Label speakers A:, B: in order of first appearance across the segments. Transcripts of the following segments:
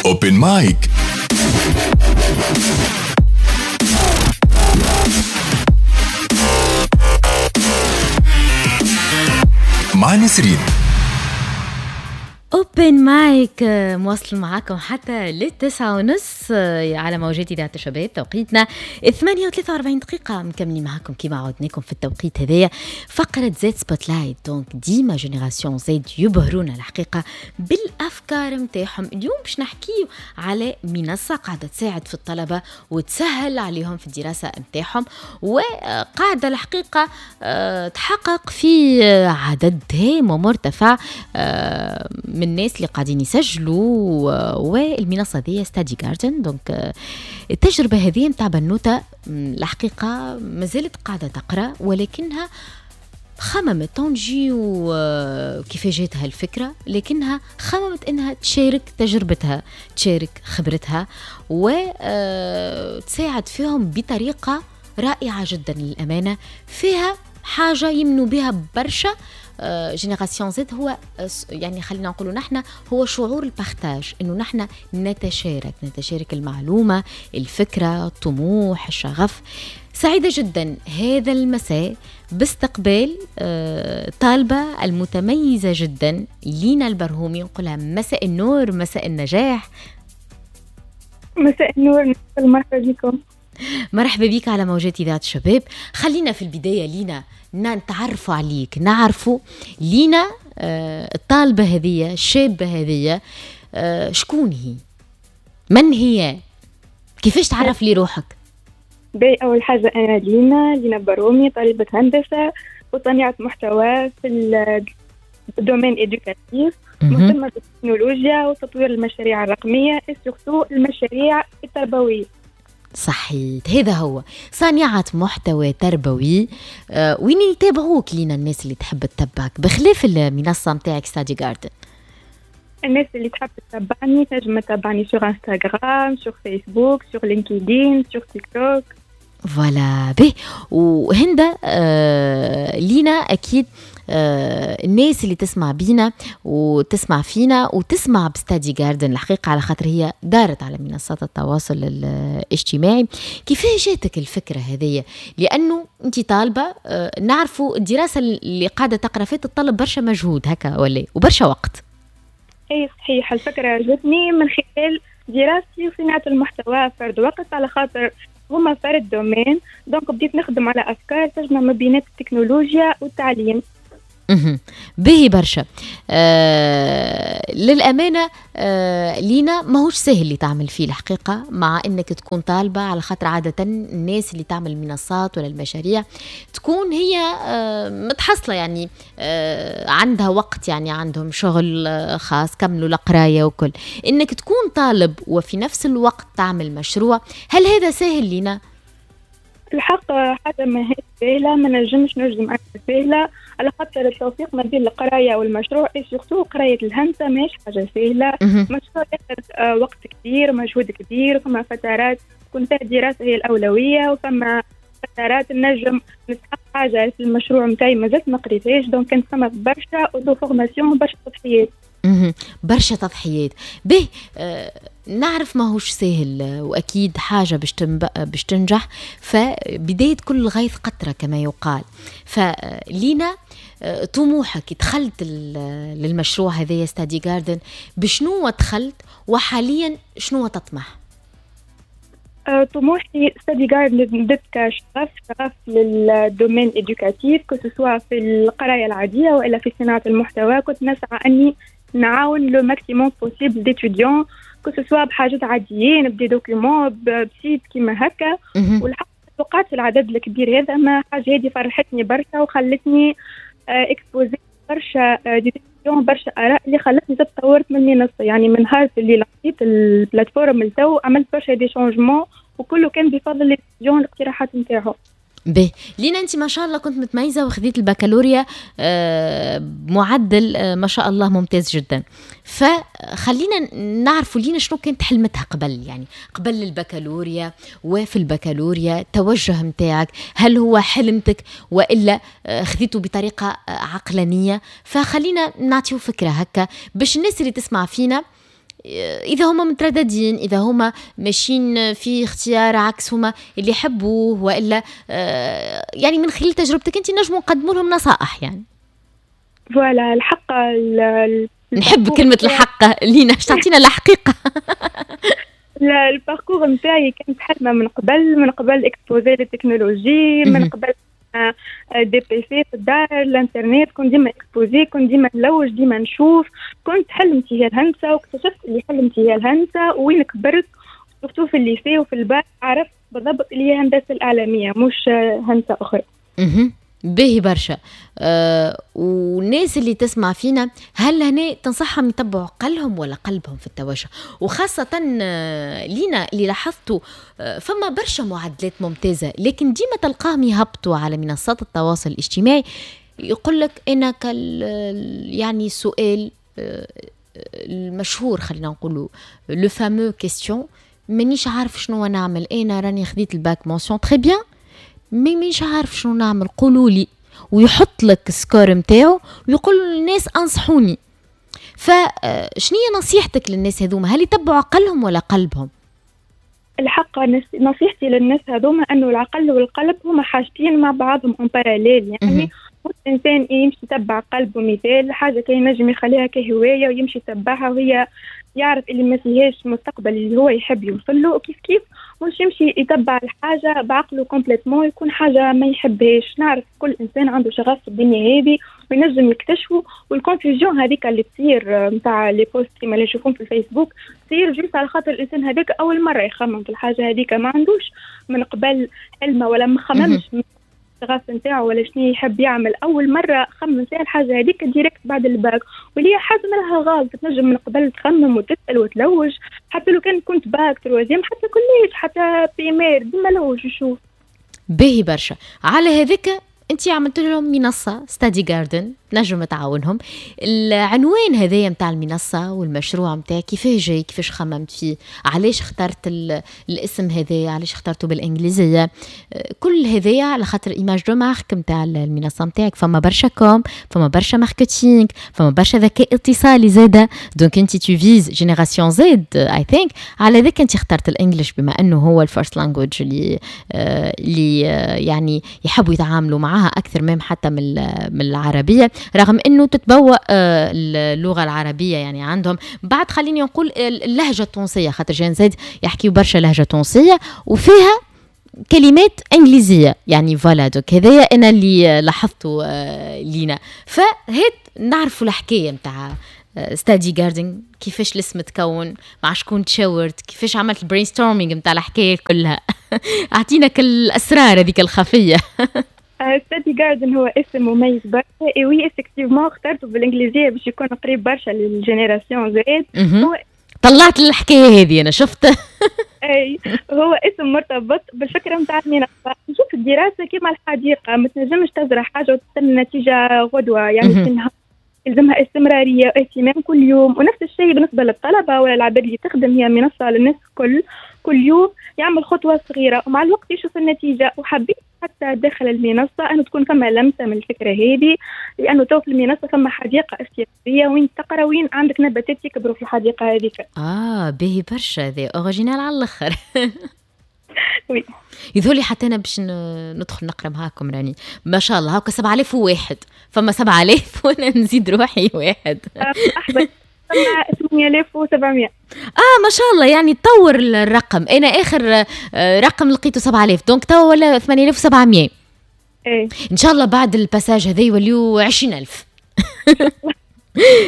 A: Open mic مع نسرين.
B: Open mic مواصل معاكم حتى 9:30 على موجات اذاعة الشباب. توقيتنا 8:43، مكملين معاكم كيما عودناكم في التوقيت هذايا فقره Z Spotlight. donc ديما Génération Z يبهرونا الحقيقة بالافكار نتاعهم. اليوم باش نحكيو على منصة قاعدة تساعد في الطلبة وتسهل عليهم في الدراسة نتاعهم، وقاعدة الحقيقة تحقق في عدد هام ومرتفع من الناس اللي قاعدين يسجلوا، والمنصه دي Study Garden. donc التجربة هذه نتاع بنوته الحقيقة مازالت قاعدة تقرا، ولكنها خممت تنجي وكيف جاتها الفكرة، لكنها خممت انها تشارك تجربتها، تشارك خبرتها، وتساعد فيهم بطريقة رائعة جدا للامانة، فيها حاجة يمنوا بها برشا Génération Z. هو يعني خلينا نقولوا نحن هو شعور ال partage، انه نحن نتشارك المعلومة، الفكرة، الطموح، الشغف. سعيدة جدا هذا المساء باستقبال طالبه المتميزة جدا لينا البرهومي. نقولها مساء النور، مساء النجاح.
C: مساء النور، مرحبا بكم.
B: مرحبا بك على موجات إذاعة الشباب. خلينا في البداية لينا نتعرفوا عليك، نعرفوا لينا الطالبة هذه، الشابة هذه، شكون هي؟ من هي؟ كيفاش تعرف لي روحك؟
C: باي، أول حاجة أنا لينا برومي، طالبة هندسة وصانعة محتوى في ال domaine éducatif، مهتمة بالتكنولوجيا وتطوير المشاريع الرقمية، surtout المشاريع التربوية.
B: صحيت، هذا هو صانعة محتوى تربوي. وين يتابعوك لينا الناس اللي تحب تتبعك بخلاف المنصة متاعك Study Garden؟
C: الناس اللي تحب تتبعني تنجم تتبعني sur Instagram، sur Facebook، sur LinkedIn، sur TikTok.
B: voilà به. وهندا لينا أكيد الناس اللي تسمع بينا وتسمع فينا وتسمع ب Study Garden الحقيقة، على خاطر هي دارت على منصات التواصل الاجتماعي. كيفاش جاتك الفكرة هذه؟ لأنه أنت طالبة، نعرفوا الدراسة اللي قاعدة تقرأ فيها تتطلب برشا مجهود هكا ولا وبرشا وقت.
C: أي صحيح، الفكرة جاتني من خلال دراستي وصناعة المحتوى فرد وقت، على خاطر هما فرد domaine. donc بديت نخدم على أفكار تجمع ما بين التكنولوجيا والتعليم.
B: به برشا. للأمانة لينا ماهوش سهل اللي تعمل فيه الحقيقة، مع أنك تكون طالبة، على خاطر عادة الناس اللي تعمل منصات ولا المشاريع تكون هي متحصلة، يعني عندها وقت، يعني عندهم شغل خاص، كملوا القراية وكل. أنك تكون طالب وفي نفس الوقت تعمل مشروع، هل هذا سهل لينا؟
C: الحق حاجة ما هي سهلة، ما نجمش نجم أنا سهلة، على خاطر التوفيق ما بين القراية والمشروع، surtout قراية الهندسة ماهيش حاجة سهلة. مشروع ياخذ وقت كبير، مجهود كبير، فما فترات تكون فيها الدراسة هي الأولوية، وفما فترات نجم نستحق حاجة في المشروع نتاعي مازلت ما قريتهاش. donc كانت فما برشا auto-formation، برشا تضحيات.
B: برشا تضحيات. به نعرف ماهوش سهل، وأكيد حاجة باش تنجح، فبداية كل غيث قطرة كما يقال. فلينا طموحك، دخلت للمشروع هذايا Study Garden، بشنو دخلت وحاليا شنو تطمح؟
C: طموحي Study Garden بدت كشغف، شغف لل domaine éducatif، que ce soit في القراية العادية وإلا في صناعة المحتوى. كنت نسعى أني نعاون le maximum possible d'étudiants، que ce soit بحاجات عاديين، ب des documents، ب site كيما هكا. والحق توقعت العدد الكبير هذا، ما حاجة هذه فرحتني برشا وخلتني exposer برشا des questions، برشا اراء اللي خلتني تطورت من المنصة. يعني من نهار اللي لقيت ال plateforme لتو عملت برشا des changements، وكله كان بفضل les étudiants، الاقتراحات نتاعهم.
B: به لينا انت ما شاء الله كنت متميزة وخذيت البكالوريا بمعدل ما شاء الله ممتاز جدا. فخلينا نعرفوا لينا شنو كانت حلمتها قبل، يعني قبل البكالوريا وفي البكالوريا، توجه متاعك هل هو حلمتك والا خذيته بطريقة عقلانية؟ فخلينا نعطيو فكرة هكا باش الناس اللي تسمع فينا اذا هما مترددين، اذا هما ماشيين في اختيار عكس هما اللي يحبوه، والا يعني من خلال تجربتك انت نجموا نقدموا لهم نصائح يعني.
C: voilà، الحق
B: نحب كلمة الحق لينا، باش تعطينا الحقيقه.
C: ال parcours نتاعي كانت حلمه من قبل exposée لل technologie، من قبل des PC في الدار، الانترنت، كنت ديما exposée، كنت ديما نلوج، ديما نشوف. كنت حلمتي هي الهندسه، واكتشفت اللي حلمتي هي الهندسة وين كبرت، surtout في ال lycée وفي الباك، عرفت بالضبط اللي هي هندسة الاعلامية مش هندسة اخرى.
B: باهي برشا. والناس اللي تسمع فينا، هل هنا تنصحهم يتبعوا عقلهم ولا قلبهم في التوجه؟ وخاصة لينا اللي لاحظتوا فما برشا معدلات ممتازة، لكن ديما تلقاهم يهبطوا على منصات التواصل الاجتماعي، يقول لك انا يعني السؤال المشهور، خلينا نقولوا le fameux question: مانيش عارف شنو نعمل، انا راني خديت ال bac mention très bien mais مش عارف شنو نعمل، قولوا لي. ويحط لك score نتاعو ويقول للناس انصحوني. فشنو هي نصيحتك للناس هذوما؟ هل يتبعوا عقلهم ولا قلبهم؟
C: الحق نصيحتي للناس هذوما انه العقل والقلب هما حاجتين مع بعضهم en parallèle. يعني الانسان يمشي يتبع قلبه، مثال حاجة كي ينجم يخليها كهواية ويمشي يتبعها وهي يعرف اللي ما فيهاش مستقبل اللي هو يحب يوصل له، وكيف كيف مش يمشي يتبع الحاجة بعقله complètement يكون حاجة ما يحبهاش. نعرف كل انسان عنده شغف في الدنيا هذه وينجم يكتشفه، وال confusion هذيك اللي تصير نتاع les posts كيما اللي نشوفهم في الفيسبوك تصير juste على خاطر الانسان هذاك اول مرة يخمم في الحاجة هذيك، ما عندوش من قبل علمه ولا ما خممش الشغف نتاعو ولا شنو يحب يعمل. اول مرة خمم فيها الحاجة هذيك direct بعد الباك، واللي هي حاجة مالها غلط. تنجم من قبل تخمم وتسال وتلوج، حتى لو كان كنت bac troisième، حتى collège، حتى primaire، ديما لوج وشوف.
B: باهي برشا. على هذاك انت عملت لهم منصة Study Garden تنجم تعاونهم. العنوان هذايا نتاع المنصة والمشروع نتاعك كيفاش جاي؟ كيفاش خممت فيه؟ علاش اخترت الاسم هذايا؟ علاش اخترته بالانجليزيه؟ كل هذايا على خاطر image de marque نتاع المنصة نتاعك، فما برشا com، فما برشا marketing، فما برشا ذكاء اتصالي زاده، donc انت tu vises génération Z I think. على ذاك انت اخترت ال English بما انه هو ال first language اللي يعني يحبوا يتعاملوا معاها اكثر même حتى من العربيه، رغم انه تتبوأ اللغة العربية يعني عندهم بعد، خليني نقول اللهجة التونسيه، خاطر Gen Z يحكيوا برشا لهجه تونسية وفيها كلمات انجليزية يعني. voilà، donc هذايا انا اللي لاحظته لينا. فهات نعرفوا الحكاية نتاع Study Garden، كيفاش الاسم تكون، مع شكون تشاورت، كيفاش عملت ال brainstorming نتاع الحكاية كلها. اعطينا كل الاسرار هذيك الخفيه.
C: Study Garden هو اسم مميز برشا، et oui effectivement اخترته بالانجليزية باش يكون قريب برشا لل génération Z.
B: هو طلعت الحكاية هذه انا شفت.
C: اي، هو اسم مرتبط بالفكرة نتاع المنصه. نشوف الدراسة كما الحديقه، ما تنجمش تزرع حاجة وتستنى نتيجة غدوه، يعني يلزمها استمرارية واهتمام كل يوم. ونفس الشيء بالنسبة للطلبة ولا العباد اللي تخدم، هي منصة للناس الكل، كل يوم يعمل خطوة صغيرة ومع الوقت يشوف النتيجه. وحبيت حتى داخل المنصة انه تكون فما لمسه من الفكرة هذه، لانه تو في المنصة فما حديقة افتراضية وين تقرا، وين عندك نباتات يكبروا في الحديقة هذيك.
B: اه، باهي برشا، هذا original على الاخر.
C: oui.
B: يظهر لي حتى انا باش ندخل نقرا معاكم، راني ما شاء الله هاكا 7001، فما 7000 وانا نزيد روحي واحد.
C: احبط، فما 8700.
B: اه ما شاء الله، يعني تطور الرقم. انا اخر رقم لقيته 7000، donc توا ولا 8700.
C: ايه.
B: ان شاء الله بعد ال passage هذا يوليو 20000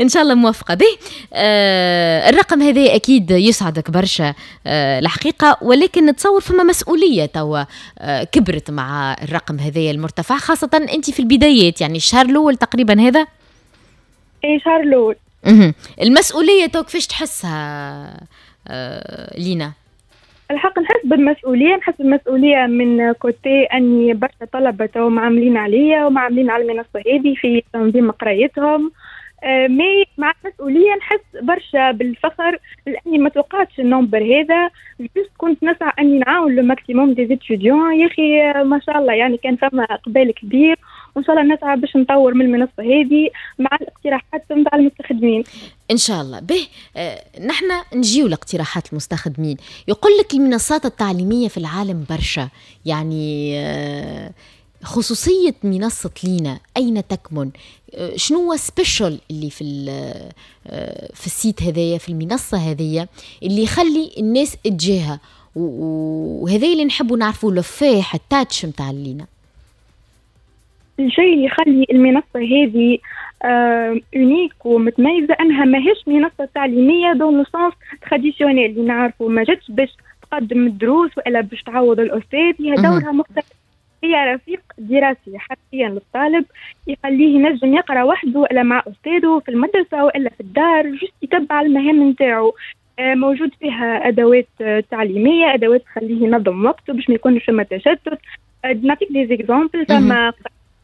B: ان شاء الله موفقة به. الرقم هذا اكيد يسعدك برشا الحقيقه، ولكن نتصور فما مسؤولية توا كبرت مع الرقم هذا المرتفع، خاصة انت في البدايات، يعني الشهر الاول تقريبا هذا.
C: ايه، شهر الاول.
B: المسؤولية تو كيفاش تحسها لينا؟
C: الحق نحس بالمسؤولية من côté أني برشا طلبة تو معاملين عليا ومعاملين على المنصة هذه في تنظيم قرايتهم، mais مع المسؤولية نحس برشا بالفخر لأني ما توقعتش ال nombre هذا. juste كنت نسعى أني نعاون le maximum des étudiants، يا أخي ما شاء الله، يعني كان فما إقبال كبير. وان شاء الله نسعى باش نطور من المنصة هذه مع الاقتراحات نتاع المستخدمين.
B: ان شاء الله. به نحن نجيو لاقتراحات المستخدمين. يقول لك المنصات التعليمية في العالم برشا، يعني خصوصية منصة لينا أين تكمن؟ شنو هو spécial اللي في ال site هذايا، في المنصة هذيا اللي يخلي الناس تجيها؟ وهذا اللي نحبوا نعرفوا، l'effet ال touch نتاع لينا.
C: الشيء اللي يخلي المنصة هذه unique ومتميزة أنها ماهيش منصة تعليمية dans le sens traditionnel اللي نعرفوا، ما جاتش باش تقدم الدروس ولا باش تعوض الأستاذ. هي دورها مختلف، هي رفيق دراسي حرفيا للطالب، يخليه ينجم يقرا وحده ولا مع استاذه في المدرسة والا في الدار، juste يتبع المهام نتاعو. موجود فيها ادوات تعليميه، ادوات تخليه ينظم وقته باش ما يكونش فما تشتت. نعطيك des exemples: فما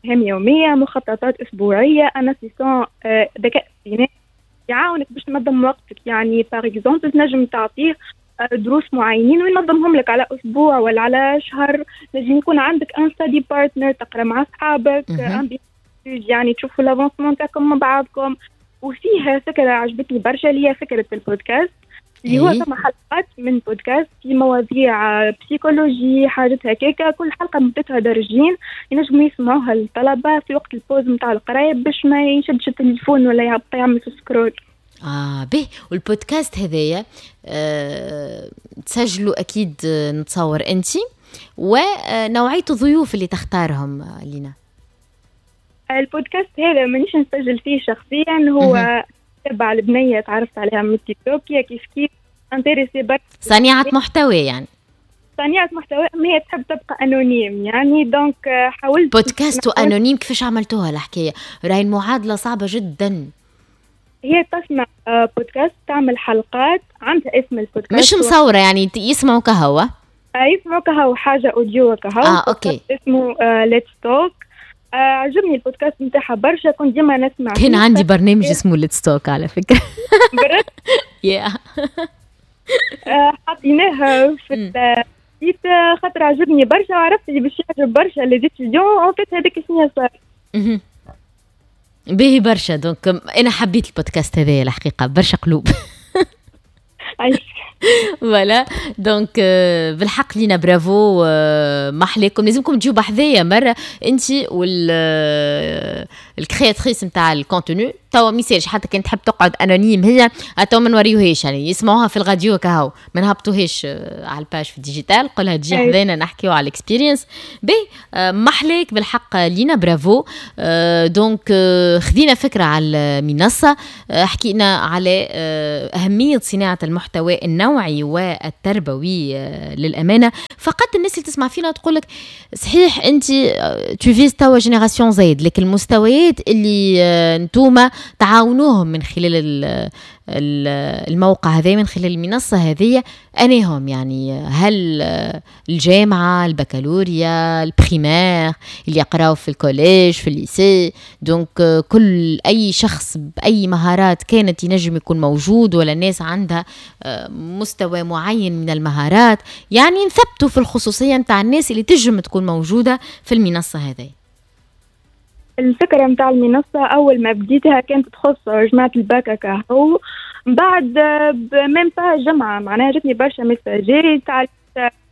C: مهام يوميه، مخططات اسبوعيه، un assistant ذكاء اصطناعي يعاونك باش تنظم وقتك. يعني par exemple تنجم تعطيه دروس معينين وينظمهم لك على اسبوع ولا على شهر. لازم يكون عندك un study partner، تقرا مع اصحابك، يعني تشوفوا l'avancement تاعكم مع بعضكم. وفيها فكرة عجبتني برشا اللي هي فكرة البودكاست، اللي هو ثم حلقات من بودكاست في مواضيع psychologie، حاجات هكاكا. كل حلقة مدتها درجين، ينجموا يسمعوها الطلبة في وقت ال pause نتاع القراية باش ما يشدش التليفون ولا يبقى يعمل في scroll.
B: اه به، والبودكاست هذايا تسجلوا اكيد نتصور انت، ونوعية الضيوف اللي تختارهم لينا؟
C: البودكاست هذا مانيش نسجل فيه شخصيا، هو تبع البنية تعرفت عليها من التيك توك، هي كيف كيف intéressée برك.
B: صانعة محتوى يعني.
C: صانعة محتوى، ما هي تحب تبقى anonyme يعني، donc حاولت.
B: بودكاست و anonyme، كيفاش عملتوها الحكاية؟ راهي المعادلة صعبة جدا.
C: هي تصنع بودكاست، تعمل حلقات، عندها اسم البودكاست.
B: مش مصورة يعني، يسمعوا كهو؟
C: يسمعوا كهو، حاجة audio كهو.
B: اه okay.
C: اسمه Let's Talk. عجبني البودكاست نتاعها برشا، كنت ديما نسمع.
B: كان عندي برنامج اسمه Let's Talk على فكرة.
C: yeah. حطيناه في ال site خاطر عجبني برشا وعرفت اللي باش يعجب برشا les étudiants. en fait هذاك شنو صار.
B: باهي برشا، donc انا حبيت البودكاست هذايا الحقيقه، برشا قلوب. voilà، donc بالحق لينا برافو، محليكم. لازمكم تجيو بحذايا مرة انت وال créatrice نتاع ال contenu. توا ميسالش، حتى كان تحب تقعد anonyme هي، تو ما نوريوهاش، يعني يسمعوها في الراديو كهو، ما نهبطوهاش على ال page في ال digital. قولها تجي حذانا نحكيو على ال expérience. باهي، محليك بالحق لينا، bravo. donc خذينا فكرة على المنصه، حكينا على اهمية صناعة المحتوى النوعي والتربوي. للامانة فقط الناس اللي تسمع فينا تقول لك صحيح انت tu vises توا génération Z، لكن المستويات اللي نتوما تعاونوهم من خلال الموقع هذا، من خلال المنصة هذه، أناهم يعني؟ هل الجامعة، البكالوريا، ال primaire، اللي يقراو في ال collège، في ال lycée؟ donc كل أي شخص بأي مهارات كانت ينجم يكون موجود، ولا الناس عندها مستوى معين من المهارات؟ يعني نثبتوا في الخصوصية نتاع الناس اللي تجم تكون موجودة في المنصة هذه.
C: الفكرة متاع المنصة أول ما بديتها كانت تخص جماعة الباكا كهو. من بعد même pas جمعة معناها جاتني برشا messages: علاش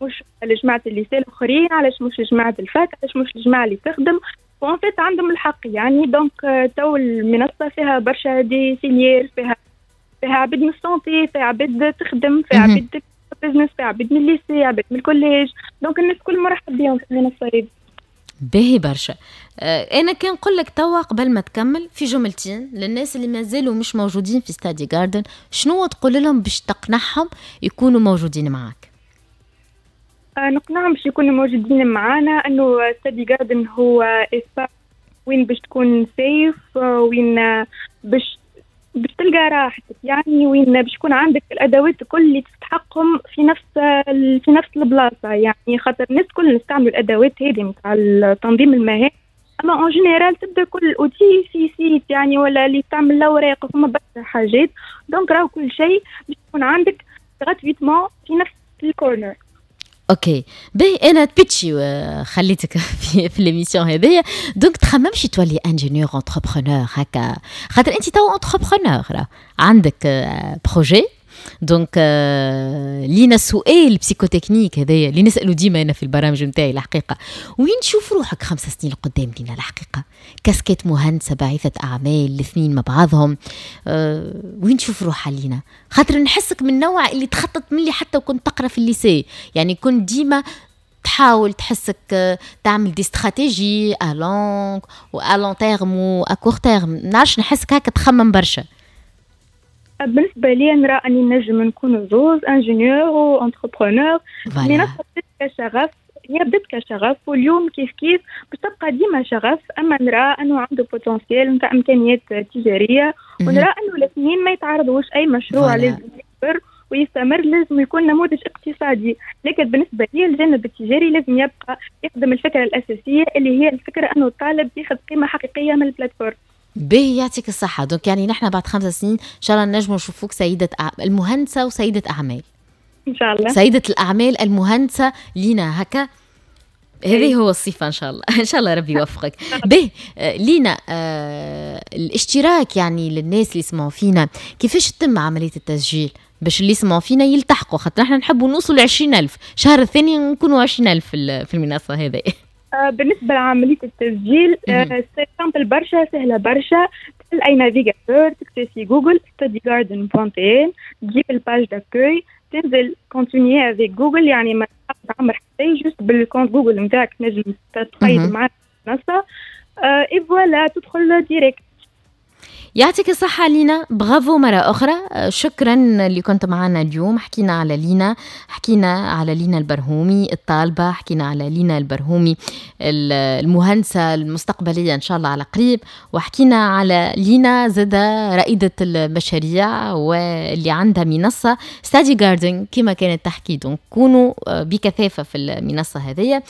C: مش لجماعة ال lycée الآخرين؟ علاش مش لجماعة ال fac؟ علاش مش الجماعة اللي تخدم؟ و en fait عندهم الحق يعني. donc تو المنصة فيها برشا des filières، فيها عباد من ال santé، فيها عباد تخدم، فيها عباد business، فيها عباد من ال lycée، عباد من ال collège، donc الناس كل مرحب بهم في المنصة هذه.
B: باهي برشا. انا كان نقول لك توا قبل ما تكمل في جملتين للناس اللي مازالوا مش موجودين في Study Garden، شنو تقول لهم باش تقنعهم يكونوا موجودين معك؟
C: نقنعهم باش يكونوا موجودين معنا انه Study Garden هو espace وين باش تكون safe، وين باش تلقى راحتك، يعني وين باش يكون عندك الادوات الكل اللي تستحقهم في نفس البلاصه. يعني خاطر الناس الكل نستعملوا الادوات هذه نتاع تنظيم المهام، اما en général تبدا كل outil في site يعني، ولا اللي تعمل الاوراق، فما برشا حاجات. donc راهو كل شيء باش يكون عندك gratuitement في نفس ال corner.
B: OK، باهي، انا تبيتشي خليتك في l'émission هذيا، donc تخممش تولي ingénieur entrepreneur هكا؟ خاطر انت تو entrepreneur، عندك projet. donc لينا سؤال psychotechnique هذايا اللي نسالو ديما انا في البرامج نتاعي الحقيقه: وين تشوف روحك 5 سنين قدام لينا الحقيقه؟ كاسكيت مهندسه، باعثه اعمال، الاثنين مع بعضهم، وين تشوف روحها لينا؟ خاطر نحسك من النوع اللي تخطط من اللي حتى وكنت تقرا في ال lycée، يعني كنت ديما تحاول، تحسك تعمل des stratégies à long و à long terme و à court terme. نعرفش، نحسك هكا تخمم برشا.
C: بالنسبة لي نرى اني نجم نكون زوز، ingénieur و entrepreneur. المنصة بدات كشغف، هي بدات كشغف، واليوم كيف كيف باش تبقى ديما شغف، اما نرى انه عنده potentiel نتاع امكانيات تجاريه، ونرى انه الاثنين ما يتعارضوش. اي مشروع لازم يكبر ويستمر لازم يكون نموذج اقتصادي، لكن بالنسبة لي الجانب التجاري لازم يبقى يخدم الفكرة الاساسيه، اللي هي الفكرة انه الطالب ياخذ قيمة حقيقية من ال plateforme.
B: باهي، يعطيك الصحة. donc يعني نحن بعد 5 سنين إن شاء الله نجم نشوفوك سيدة المهندسة وسيدة أعمال.
C: إن شاء الله.
B: سيدة الأعمال المهندسة لينا هكا، هذه هو الصفة إن شاء الله. إن شاء الله ربي يوفقك. به لينا، الاشتراك يعني للناس اللي يسمعوا فينا، كيفاش تتم عملية التسجيل باش اللي يسمعوا فينا يلتحقوا؟ خاطر احنا نحبوا نوصلوا ل 20000، الشهر الثاني نكونوا 20000 في المنصة هذه.
C: بالنسبة لعملية التسجيل، c'est simple برشا، سهلة برشا. تحل اي navigateur، تكتب في جوجل studygarden.tn، تجيب ال page d'accueil، تنزل continuer avec Google، يعني ما تعمر حتى، juste بال compte Google نتاعك تنجم تقيد معنا المنصة et voilà، تدخل direct.
B: يعطيك الصحة لينا، برافو مرة أخرى. شكرا اللي كنت معنا اليوم. حكينا على لينا، حكينا على لينا البرهومي الطالبة، حكينا على لينا البرهومي المهندسة المستقبلية إن شاء الله على قريب، وحكينا على لينا زادة رائدة المشاريع واللي عندها منصة Study Garden كما كانت تحكي. donc كونوا بكثافة في المنصة هذه.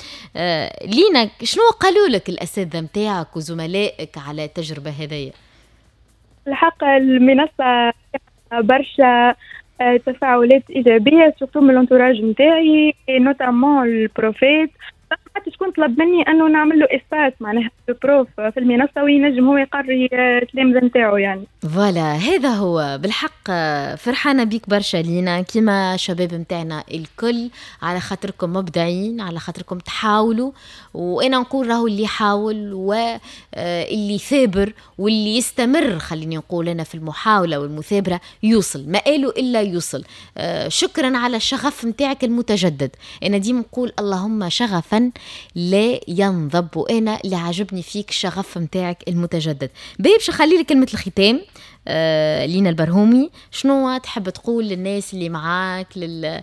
B: لينا، شنو قالوا لك الأساتذة متاعك وزملائك على التجربة هذه؟
C: الحق المنصة برشا تفاعلات إيجابية، surtout من l'entourage نتاعي، notamment ال profs. حتى شكون طلب مني انه نعمل له espace معناها prof في المنصة وينجم هو يقري التلامذه نتاعو يعني.
B: voilà، هذا هو بالحق. فرحانة بيك برشا لينا، كيما شباب نتاعنا الكل، على خاطركم مبدعين، على خاطركم تحاولوا، وانا نقول راهو اللي يحاول واللي يثابر واللي يستمر، خليني نقول انا، في المحاولة والمثابرة يوصل، ما قالوا الا يوصل. شكرا على الشغف نتاعك المتجدد. انا ديما نقول اللهم شغفا لا ينضب، وانا اللي عجبني فيك الشغف نتاعك المتجدد. باهي، باش نخلي لك كلمة الختام. لينا البرهومي، شنو تحب تقول للناس اللي معاك، لل